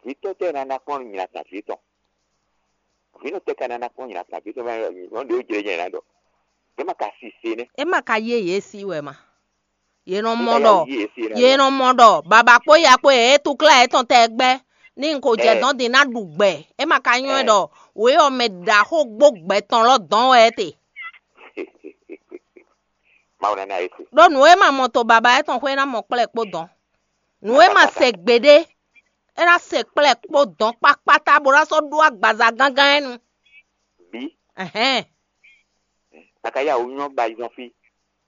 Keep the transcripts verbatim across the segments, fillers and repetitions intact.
Vǐ tɔ́ tɛ́ ná ná kplɔ́n nyi nǎ kan vǐ tɔn? Vǐ nɔ tɛ́ ka ná ná kplɔ́n nyi nǎ kan vǐ tɔn? Mɛ nyɔ̌nu ɖě ó jlé nyɛ ná ɖɔ. É ma ka si se nɛ́. É ma ka yé yě sí wɛ ma? Yě nɔ mɔ ɖɔ yě nɔ mɔ ɖɔ baba kpó ya kpó yě é túklá yětɔn tɛgbɛ ní n ko jɛ dɔn din ná ɖu gbɛ. É ma ka nyɔ́ ɖɔ wě ɔ́ mɛ ɖaxó gbó gbɛ tɔn lɔ dɔn wɛ é te. Mawu ná ná yě se. Ɖó nǔ e ma mɔ to baba étɔn xwé ná mɔ kplɛ́ kpó dɔn. Nǔ e ma se gbeɖé, é ná se kplɛ́ kpó dɔn kpákpátá bó ná sɔ́ ɖó agbaza gángán ɛ́ nu. Bí. Ɛhɛn. A ka yá wǔ nyɔ́ ba yi zɔn fí,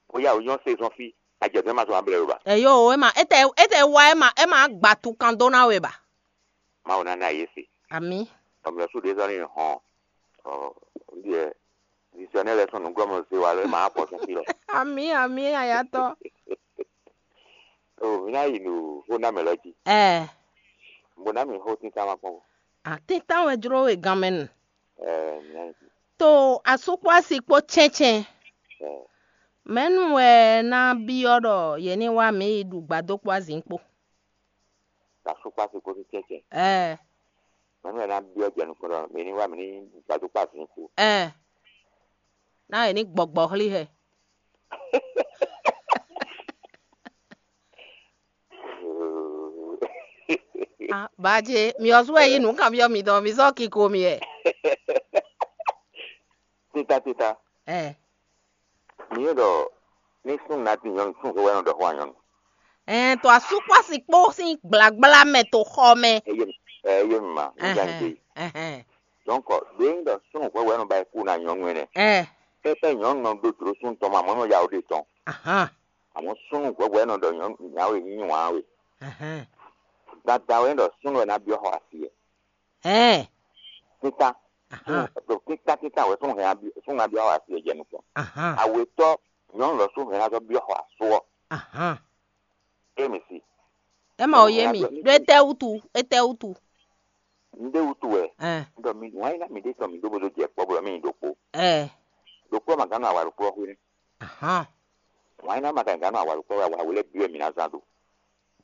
bó yá wǔ nyɔ́ se zɔn fí, a jɛ zɔn ma zɔn ablɛ lo ba? Ɛyó, é ma étɛ étɛ wá é ma é ma gba tukan dó ná we ba? Mawu ná ná yě se. Ami. Tɔmlɔ sú ɖě zɔn ní hɔn. Ɔ ndíɛ. Zizɔnɛ lɛ sɔn nǔglɔ́mɔ zé wa lɔ é ma á pɔ sɔn fí lɔ. Ami, ami, ayatɔ. O mi ná yi nǔ xó ná mɛ lɔ jí. Ɛ. Bó ná mi xó tínta ma kpɔn. Atíntan wɛ jló we ganmɛ nu. Ɛ mi ná yi. To asú kpó asi kpó cɛ́ncɛ́n. Ɛ. Mɛ̌nu wɛ ná byɔ́ ɖɔ yě ní wá mǐ yi ɖu gbadó kpó azǐn kpó? Asú kpó asi kpó cɛ́ncɛ́n. Ɛ. Mɛ̌nu wɛ ná byɔ́ jɛ nukɔn ɖɔ mǐ ní wá mǐ ní gbadó kpó azǐn kpó? Ɛ. Ná yě ní gbɔgbɔ hlí hɛ. Bajé, mi ɔ́ sú wɛ yí nǔ kanbyɔ́ mitɔn, mi sɔ́ kiko mi wɛ. Tita tita. Ɛ. Mi yé ɖɔ ní súnnu ná dín nyɔ̌nu súnnu xó wɛ nɔ ɖɔ xó wá nyɔ̌nu. Ɛn to asúkpási kpó sín gblagbla mɛ to xɔ mɛ. Eye eye mi ma ní jan de. Ɛhɛn. Donc ɖé ń ɖɔ súnnu xó wɛ nɔ ba kú na nyɔ̌nu ɛnɛ. Ɛ. Pɛpɛ nyɔ̌nu nɔ ɖó jlǒ súnnu tɔn ma mɔ̌ nɔ ya ó ɖe tɔn. Ahan. Àmọ́ súnnu hwɛhwɛ nɔ ɖɔ nyɔ̌nu nyawe nyí wǎn we. Ahan. Gbadá wɛ ɖɔ súnnu wɛ ná byɔ́ xɔ asi ɛ. Ɛn. Títá. Ahan. Ɖo títá títá wɛ súnnu hɛn súnnu ná byɔ́ xɔ asi ɛ jɛ nukɔn. Ahan. Awetɔ nyɔ̌nu lɔ súnnu hɛn ná zɔ byɔ́ xɔ asú ɔ. Ahan. É mi si. É ma wo yé mi. Ɖó étɛ́ wútu? Étɛ́ wútu? Un ɖe wútu wɛ. Ɛn. Un ɖɔ mi wǎn yí ná mi ɖe tɔn mi ɖó bó dó jɛ kpɔ́ bó ɖɔ mí nyi ɖokpó. Ɛ. Ɖokpó ma gán nɔ awa ɖokpó ɔ́ xwé nɛ́. Ahan. Wǎn yí ná ma ka gán nɔ awa ɖokpó ɔ́ wɛ awa wlɛ́ byɔ́ mi ná zán ɖo.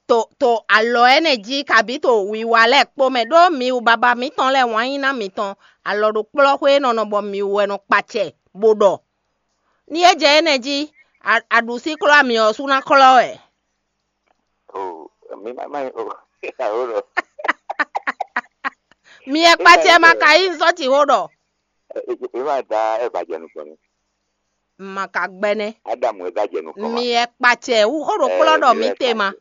To to alɔ ɛnɛ jí kabí to wiwa lɛ́ɛ kpó mɛ ɖó mi wu baba mǐtɔn lɛ́ɛ wǎn yí ná mǐtɔn alɔ ɖo kplɔ́xwé nɔ nɔ bɔ mi wɛ nɔ kpacɛ bó ɖɔ. Ní é jɛ énɛ́ jí, aɖǔsí klɔ́ amyɔ ɔ́ sú ná klɔ́ wɛ. O mi ma ma o awo ɖɔ. Mi ɛ kpacɛ ma ka yí sɔ́ ci xó ɖɔ. E ma da ɛ ba jɛ nukɔn ni. Ma ka gbɛnɛ. Adamu ɛ da jɛ nukɔn ma. Mi ɛ kpacɛ wú xó ɖo kplɔ́ ɖɔ mi te ma.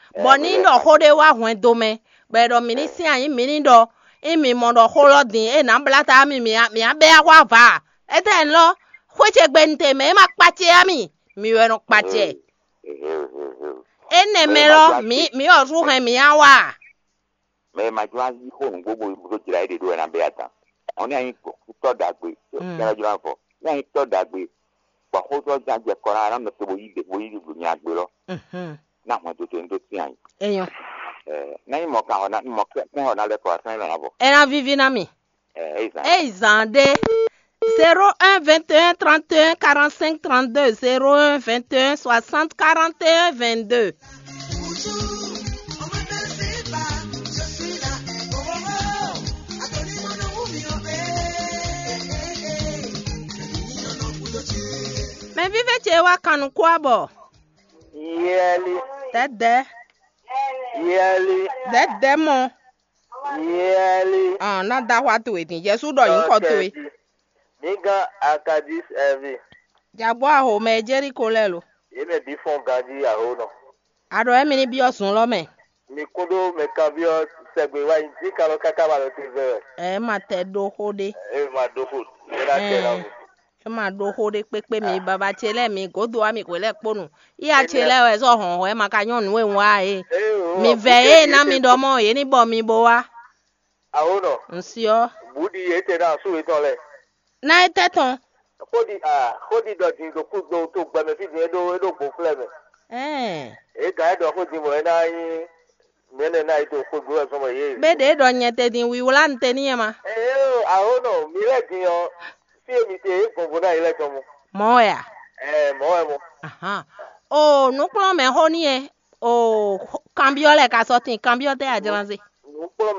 Bɔ ní ɖɔ xó ɖé wá hwɛndo mɛ, bɔ ɛ ɖɔ mǐ ní sín anyǐ mǐ ní ɖɔ, ényí mǐ mɔ ɖɔ xó lɔ din é nǎ blá ta mì mǐ á bɛ́ axwá vǎ. Étɛ́ lɔ, xwé ce gbe un te mɛ é ma kpacɛ á mì, mǐ wɛ nɔ kpacɛ. Énɛ́ mɛ lɔ, mǐ mǐ ɔ́ sú hɛn mǐ á wa. Mɛ e ma jló ná yí xó nǔgbó bó bó jlá éɖée ɖó wɛ ná bɛ́ atan. Ɔ́ ní anyí tɔ́ ɖagbe kɛ́lɛ́ jló ná vɔ. Ní anyí tɔ́ ɖagbe, bɔ xótɔ́ zán jɛ kɔ ná ná nɔ te bó yí ɖe bó yí ɖu nya gbe lɔ. Ná hɔn tó tó ní tó tín anyí. Enyɔ. Ná nyí mɔ kan xɔ ná mɔ kɛ́ xɔ ná lɛ́ kɔ asán é lɔ ná vɔ. É ná víví ná mì. Ɛ é zán. É zán ɖé. Zéro un vingt et un trente et un quarante cinq trente deux, zéro un vingt et un soixante quarante et un vingt deux. Mɛ vívɛ ce wá kan nukún abɔ. Yɛli. Dɛdɛ. Yɛli. Dɛdɛ mɔ. Yɛli. Ɔn, ná da xwa towe din. Jesu ɖɔ nyǐkɔ towe. Mi gán Akadis ɛvi. Jagbɔ aho mɛ Jeriko lɛ lo. Yě mɛ bí fɔn ganjí aho nɔ. Aɖɔ ɛmi ní byɔ́ zun lɔ mɛ. Mi kún ɖó mɛ kanbyɔ́ sɛgbe wá nyi jí kalɔ káká ma lɔ te vɛ wɛ. Ɛ ma tɛ ɖó xó ɖé. Ɛ ma ɖó xó. Ɛ na tɛ na vo. É ma ɖó xó ɖé kpékpé mi baba ce lɛ́ɛ mi gǒdo wá mi hwě lɛ́ɛ kpó nu. Iya ce lɛ́ɛ wɛ zɔ́ hɔn hwɛ ma ka nyɔ́ nǔ e un wa é. Mi vɛ é ná mi ɖɔ mɔ yě ní bɔ mi bo wá. Awo nɔ. Un syɔ. Bǔ ɖi yě tɛ ná asú yětɔn lɛ. Ná é tɛ́ tɔn. Xóɖi a xóɖi ɖɔ din ɖo kú ɖo to gbɛmɛ fí din é ɖó é ɖó gbǒflɛ́ mɛ. Ɛɛ. É gǎn é ɖɔ xó din bɔ é ná nyí mɛ̌nɛ ná yi to xwé gbé wɛ zɔn bɔ yě. Bé ɖě ɖɔ nyɛ te din wiwlá un te n'i ma. Ee awo nɔ mi lɛ́ din ɔ fí e mi te é gbɔngbɔn ná yi lɛ́ tɔn mɔ. Mɔ̌ wɛ a? Ɛɛ mɔ̌ wɛ mɔ. Ahan. O nǔkplɔ́nmɛ xó n'i e. O kanbyɔ́ lɛ ka sɔ́ tin kanbyɔ́ tɛ́ a jlán se. Nǔkplɔ́n